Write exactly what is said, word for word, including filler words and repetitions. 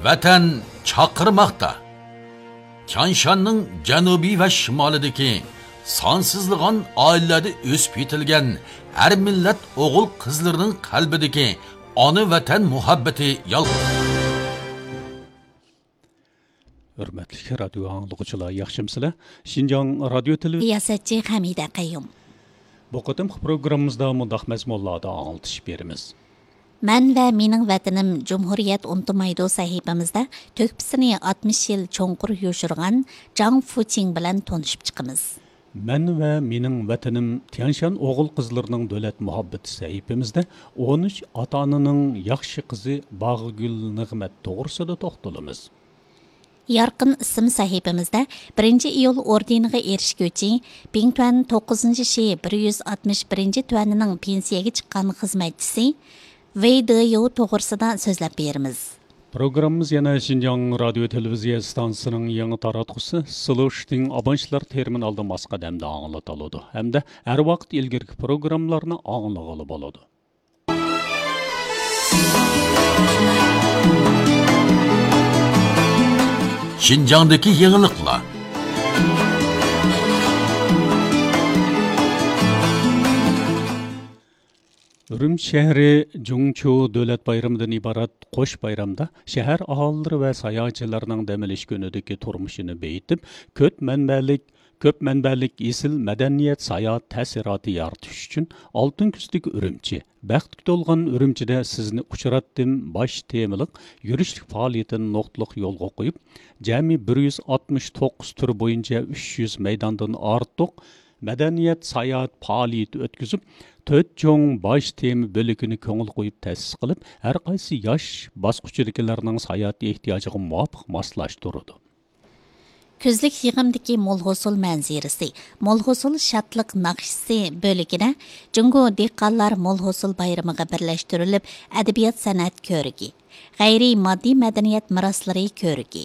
ۋەتەن چاقىرماقتا. تيانشاننىڭ جەنۇبى ۋە شىمالىدىكى سانسىزلىغان ئائىلىلەردە ئۆسۈپ يېتىلگەن ھەر مىللەت ئوغۇل-قىزلىرىنىڭ قەلبىدىكى ئانا ۋەتەن مۇھەببىتى يالقۇن. ھۆرمەتلىك رادىيو ئاڭلىغۇچىلار، ياخشىمۇسىلەر؟ شىنجاڭ رادىيو تېلېۋىزىيە. رىياسەتچى خەمىدە قەييۇم. بۇ قېتىمقى پروگراممىمىزدا مۇنداق مەزمۇنلاردا ئاڭلىتىش بېرىمىز. مەن ۋە مېنىڭ ۋەتىنىم جۇمھۇرىيەت ئۇنتۇمايدۇ سەھىپىمىزدە تۆھپىسىنى ئاتمىش يىل چوڭقۇر يوشۇرغان جاڭ فۇچىڭ بىلەن تونۇشۇپ چىقىمىز. مەن ۋە مېنىڭ ۋەتىنىم تيانشان ئوغۇل-قىزلىرىنىڭ دۆلەت مۇھەببىتى سەھىپىمىزدە ئون ئۈچ ئاتا-ئانىنىڭ ياخشى قىزى باغگۈل نىغمەت توغرىسىدا توختىلىمىز. يارقىن ئىسىم سەھىپىمىزدە بىرىنچى ئىيۇل ئوردېنىغا ئېرىشكۈچى، بىڭتۈەن توققۇزىنچى شى بىر يۈز ئاتمىش بىرىنچى تۈەنىنىڭ پېنسىيەگە چىققان خىزمەتچىسى ۋېي دېيوۋ توغرىسىدا سۆزلەپ بېرىمىز. پروگراممىمىز يەنە شىنجاڭ رادىيو تېلېۋىزىيە ئىستانسىسىنىڭ يېڭى تاراتقۇسى سىلوشتىڭ ئابونتلار تېرمىنالىدا ماس قەدەمدە ئاڭلىتىلىدۇ ھەمدە ھەر ۋاقىت ئىلگىرىكى پروگراممىلارنى ئاڭلىغىلى بولىدۇ. شىنجاڭدىكى يېڭىلىقلار. ئۈرۈمچى شەھىرى جۇڭچۇ دۆلەت بايرىمىدىن ئىبارەت قوش بايرامدا شەھەر ئاھالىلىرى ۋە ساياھەتچىلەرنىڭ دەم ئېلىش كۈنىدىكى تۇرمۇشىنى بېيىتىپ، كۆپ مەنبەلىك، كۆپ مەنبەلىك ئېسىل مەدەنىيەت ساياھەت تەسىراتى يارىتىش ئۈچۈن ئالتۇن كۈزدىكى ئۈرۈمچى، بەختكە تولغان ئۈرۈمچىدە سىزنى ئۇچراتتىم باش تېمىلىق يۈرۈشلۈك پائالىيىتىنى نۇقتىلىق يولغا قويۇپ، جەمئىي بىر يۈز ئاتمىش توققۇز تۈر بويىچە ئۈچ يۈز مەيداندىن ئارتۇق مەدەنىيەت ساياھەت پائالىيىتى ئۆتكۈزۈپ، تۆت چوڭ باش تېما بۆلىكىنى كۆڭۈل قويۇپ تەسىس قىلىپ، ھەر قايسى ياش باسقۇچىدىكىلەرنىڭ ساياھەت ئېھتىياجىغا مۇۋاپىق ماسلاشتۇرىدۇ. كۈزلۈك يىغىمدىكى مول ھوسۇل مەنزىرىسى، مول ھوسۇل شادلىق ناخشىسى بۆلىكىدە جۇڭگو دېھقانلار مول ھوسۇل بايرىمىغا بىرلەشتۈرۈلۈپ ئەدەبىيات سەنئەت كۆرىكى، غەيرىي ماددىي مەدەنىيەت مىراسلىرى كۆرىكى،